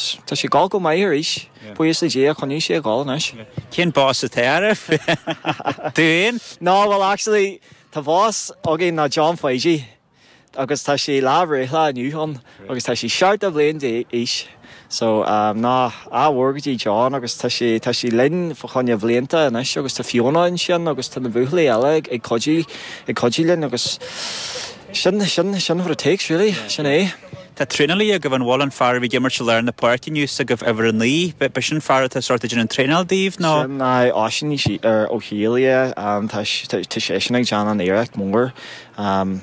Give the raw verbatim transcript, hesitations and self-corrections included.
agus tá sé ag gabháil go maith arís. Buíochas le Dia choinnigh sé ag gabháil anois. Cén boss atá oraibh? Tú féin? No, well actually tá boss againn ná John Pháidí agus tá sé lá a bhreithlá inniu ann agus tá sé seachtó bliain d'aois. So um, ná ádh mór go dtí John agus tá sé tá sé linn fá choinne blianta anois agus tá Fiona ansin agus tá na buachaillí eile ag ag cuidiú ag cuidiú linn agus sin sin sin what it takes really sin é. Tá traenálaí agaibh an bhfuil an fear a bhí ag imirt i lár na páirce inniu agaibh uimhir a naoi, ba sin fear atá sort ag déanamh traenáil daoibh nó? Sin ná Oisín ar ó Shília um, tá tá seisean ag déanamh an iarracht mór um,